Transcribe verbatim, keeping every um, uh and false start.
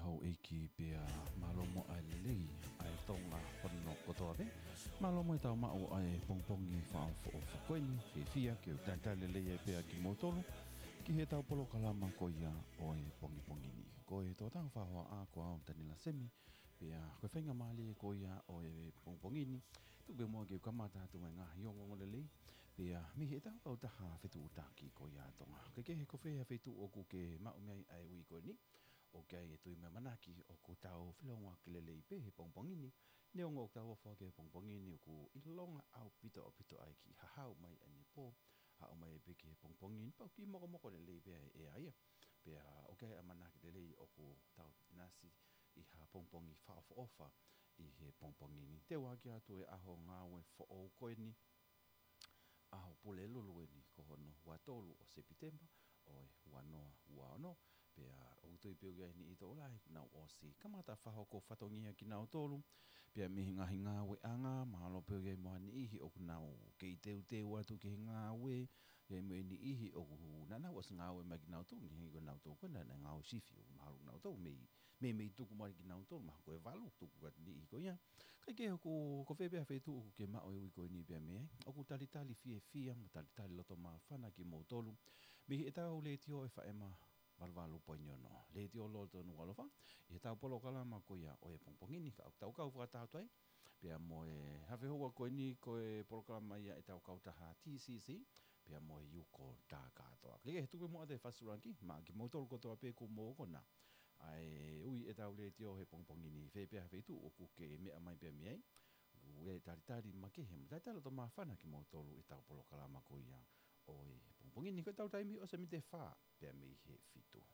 Houʻeiki pea mālō mo e lelei ʻa e Tonga hono kotoa pē. Mālō mo e tau maʻu ʻa e pongipongi fakaʻofoʻofa ko eni, fiefia ke u talitali lelei ai pea kimoutolu ki he tau polokalama ko ia ʻo e pongipongi ni. Ko e toʻutangata fakahoa ko au Taniela Semi, pea ko e faingamālie ko ia ʻo e pongipongi ni, tuku pē muʻa ke u kamata atu mo e ngaahi ongoongo lelei, pea mei he tau kautaha fetuʻutaki ko ia ʻa Tonga. Ke kehe ko fē ha feituʻu ʻoku ke maʻu mei ai ʻa e ui ko eni, ʻoku ʻi ai e tui mo e ʻamanaki ʻoku tau feʻiloaki lelei pē he pongipongi ni. Neongo ʻoku tau ofo ki he pongipongi ni, ʻoku ʻilonga ʻaupito ʻaupito ʻa e kiʻi hahau mai ʻa e pō, haʻu mai pē ki he pongipongi ni, pea ʻoku kiʻi mokomoko lelei pē ʻa e ʻea ia. Pea ʻoku ʻi ai e ʻamanaki lelei ʻoku tau nasi ʻi ha pongipongi fakaʻofoʻofa ʻi he pongipongi ni. Teu ʻaki atu e ʻaho ngāue foʻou ko eni, ʻaho Pulelulu eni, ko hono ua tolu ʻo Sepitema ʻo e ua noa ua ono, pea ʻoku ou tui pē ʻoku ʻi ai e niʻihi tokolahi ʻoku nau ʻosi kamata fakahoko fatongia kinautolu, pea mei he ngaahi ngāueʻanga, mahalo pē ʻoku ʻi ai mo ha niʻihi ʻoku nau kei teuteu atu ki he ngāue, ʻi ai mo e niʻihi ʻoku naʻa nau ʻosi ngāue mai kinautolu, ʻi he ko nautolu ko ena naʻe ngāue sifi, ʻoku mahalo nautolu mei, mei, mei tuku mai kinautolu, mahalo ko e valu tuku atu niʻihi ko ia. Kae kehe ʻoku, ko fē pē ha feituʻu ʻoku ke maʻu e ui ko eni pea mei ai, ʻoku talitali fiefia mo talitali loto māfana kimoutolu mei he tau letiō ʻe faema valu valu poini ono. Letiō Loloto Nukuʻalofa, ʻi he tau polokalama ko ia ʻo e pongipongi ni, ka ʻoku tau kau fakataha atu ai pea mo e hafehoua ko eni, ko e polokalama ia ʻa e tau kautaha T C C, pea mo e Yuko Takatoa. Ke, ke tuku muʻa atu e fakasulaki maʻa kimoutolu kotoa pē ʻoku mou ʻokona ʻa e ui ʻa e tau letiō he pongipongi ni, fē pē ha feituʻu ʻoku ke meʻa mai pea mei ai. ʻOku talitali makehe mo talitali loto māfana kimoutolu ʻi he tau polokalama ko ia ʻo e pongipongi ni, ko e tau taimi ʻosi mei he fā pea mei he fitu.